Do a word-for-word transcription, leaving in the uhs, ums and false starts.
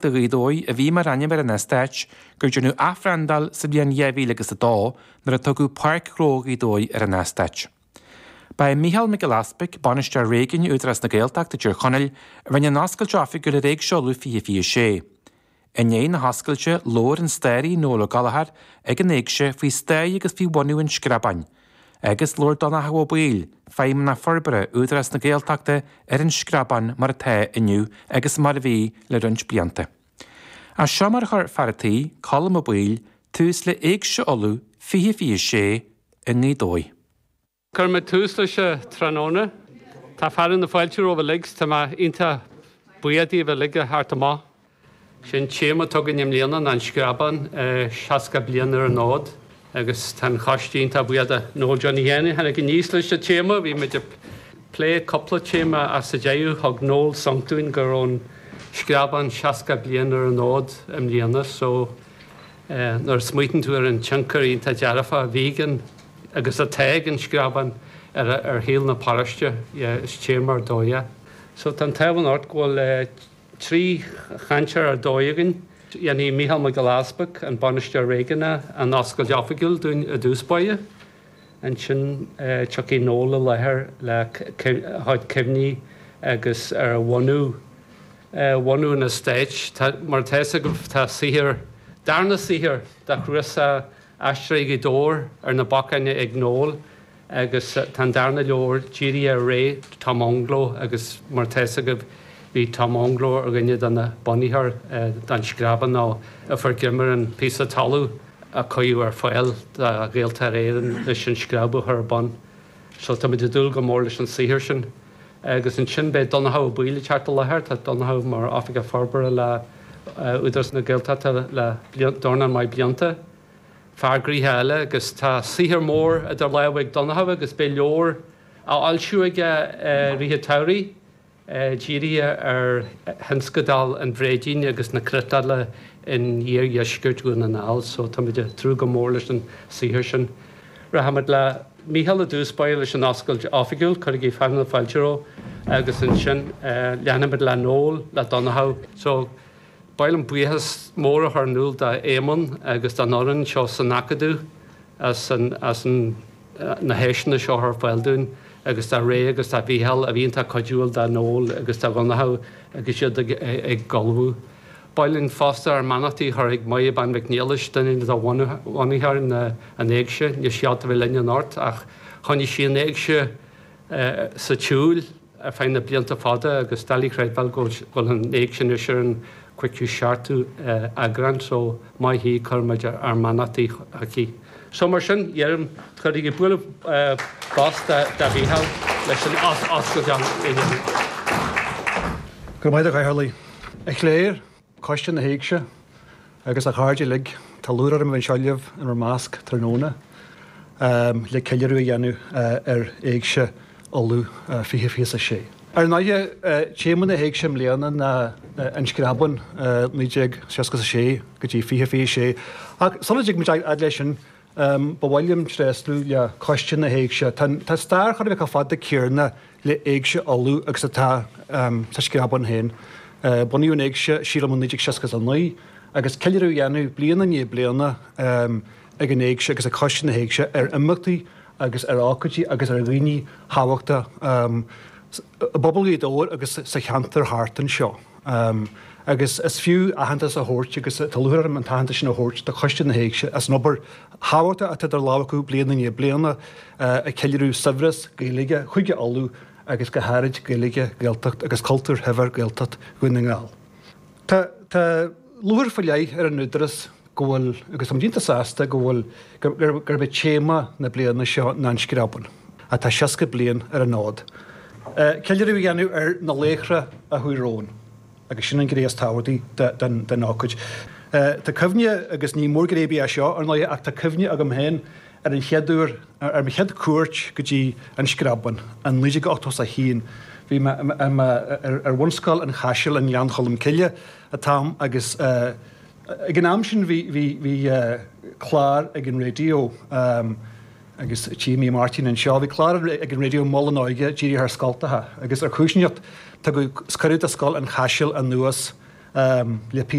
do Ghaoth Dobhair a bhí mar ainm ar an eastát gur déanadh athbhrandáil sa bhliain dhá mhíle agus a dó nuair a tugadh Páirc Ghnó Ghaoth Dobhair ar an eastát. Ba é Mícheál Mac Giolla Easpaig, Bainisteoir Réigiúin Údarás na Gaeltachta i dTír Chonaill, a rinne an oscailt oifigiúil ar Éigse Uladh fiche fiche sé. I ndiaidh na hoscailte, labhair an staraí Noel Ó Gallchóir ag an Éigse faoi stair agus faoi bhunú an Screabáin, agus labhair Donnchadh Ó Baoill, Feidhmeannach Forbartha Údarás na Gaeltachta ar an Screabán mar atá inniu agus mar a bhí le roinnt blianta. As seo mar a chuir fear an tí, Colm Ó Baoill, tús le Éigse Uladh fiche fiche sé i nGaoth Dobhair. Cuirfidh mé tús leis an tráthnóna. Tá fearadh na fáilte romhaibh uilig, tá mé iontach buíoch daoibh uilig a theacht amach. Sin téama atá againn i mbliana ná an Screabán, seasca bliain ar an fhód, agus tá an choiste iontach buíoch de Noel Johnny Sheáin a tháinig aníos leis an téama. Bhí muid ag plé cúpla téama ach sa deireadh thug Noel sonc dúinn go raibh an Screabán seasca bliain ar an fhód i mbliana, so nuair a smaoitíonn tú ar an tionchar iontach dearfach a bhí ag an agus atá ag an Screabán ar ar shaol na paróiste, is téama ar dóigh é. So tá an t-ádh anocht go bhfuil trí chainteoir ar dóigh againn. Dhéanfaidh Mícheál Mac Giolla Easpaig, an bainisteoir réigiúnach, an oscailt oifigiúil dúinn i dtús báire. Ansin tiocfaidh Noel i láthair le a chuid cuimhní agus ar bhunú bhunú an eastáit. Mar atá fhios agaibh tá saothar, darna saothar de chnuasach Aisteoirí Ghaoth Dobhair ar na bacáin ag Noel agus tá an darna leabhar dírithe ar ré Tom Anglo agus mar atá fhios agaibh bhí Tom Anglo ar dhuine de na bunaitheoirí den Screabán nó a fuair greim ar an píosa talamh a cuireadh ar fáil do Ghaeltarra Éireann leis an Screab a chur ar bun. So táimid ag dúil go mór leis an saothar sin. Agus ansin beidh Donnchadh Ó Baoill ag teacht i láthair. Tá Donnchadh mar Oifigeach Forbartha le Údarás na Gaeltachta le dornán maith blianta. Fear gnoitheach eile agus tá saothar mór idir lámha ag Donnchadh agus beidh leabhar á fhoilsiú aige i rith an tsamhraidh dírithe ar thionscadal an Bhréidín agus na cniotála in iardheisceart Dhún na nGall so táimid ag tnúth go mór leis an saothar sin. Rachaimid le Mícheál i dtús báire leis an oscailt oifigiúil, cuirigí fearadh na fáilte roimhe, agus ansin leanfaimid le Noel, le Donnchadh. So ba mhaith liom buíochas mór a chur in iúl d'Éamonn agus don fhoireann seo san Acadamh as an as an na háiseanna seo a chur ar fáil dúinn agus do Ray agus do Mhícheál a bhí iontach cuidiúil do Noel agus do Dhonnchadh agus iad ag ag ullmhú. Ba mhaith linn fosta ár mbeannachtaí a chur chuig Máire Bean Mhic Niallais, duine de bhunaitheoirí na an Éigse, níl sí ábalta a bheith linn anocht ach choinnigh sí an Éigse sa tsiúl ar feadh na blianta fada agus doiligh a chreidbheáil go bhfuil an Éigse anois ar an cúigiú seachtú eagrán so maith í, cuirimid ár mbeannachtaí chuici. So mar sin, deirim, cuirigí bualadh bos do Mhícheál leis an oscailt a dhéanamh. Go raibh maith agat, a Chathaoirligh. A chléir, Coiste na hÉigse agus a chairde uilig, tá lúcháir orm a bheith anseo libh in bhur measc tráthnóna le ceiliúradh a dhéanamh ar Éigse Uladh fiche fiche a sé. Ar ndóighe, téama na hÉigse i mbliana ná An Screabán, naoi déag seasca a sé go dtí fiche fiche a sé. Ach sula dtig muid a fhad leis sin, ba mhaith liom tréaslú le Coiste na hÉigse. Tá stair chóir a bheith chomh fada céanna le hÉigse Uladh agus atá sa Screabán féin. Bunaíodh an Éigse, sílim, i naoi déag seasca a naoi agus ceiliúradh á dhéanamh bliain i ndiaidh bliana ag an Éigse agus ag Coiste na hÉigse ar imeachtaí agus ar ócáidí agus ar dhaoine thábhachtacha i bpobal Ghaoth Dobhair agus sa cheantar thart anseo. Agus is fiú aitheantas a thabhairt, agus tá lúcháir orm an t-aitheantas sin a thabhairt, do Choiste na hÉigse as an obair thábhachtach atá idir lámha acu bliain i ndiaidh bliana ag ceiliúradh saibhreas Gaeilge Chúige Uladh agus go háirid Gaeilge, Gaeltacht agus cultúr shaibhir Gaeltacht Dhún na nGall. Tá tá lúcháir faoi leith ar an Údarás go bhfuil, agus táimid iontach sásta go bhfuil, gurb é téama na bliana seo ná an Screabán, atá seasca bliain ar an fhód. Ceiliúradh a dhéanamh ar na laochra a chuaigh romhainn, agus sin an ghné is tábhachtaí den ócáid. Tá cuimhne, agus ní mórghné ar bith é seo, ar ndóighe, ach tá cuimhne agam féin ar an chéad uair, ar mo chéad chuairt go dtí an Screabán in naoi déag ochtó a haon. Bhí mé ar bhunscoil an Chaisil i nGleann Cholm Cille an t-am agus ag an am sin bhí bhí bhí clár ag an raidió agus tchím Máirtín anseo, bhí clár ag an raidió Mol na hÓige dírithe ar scoltacha agus ar chúis inteacht tugadh cuireadh do scoil an Chaisil anuas le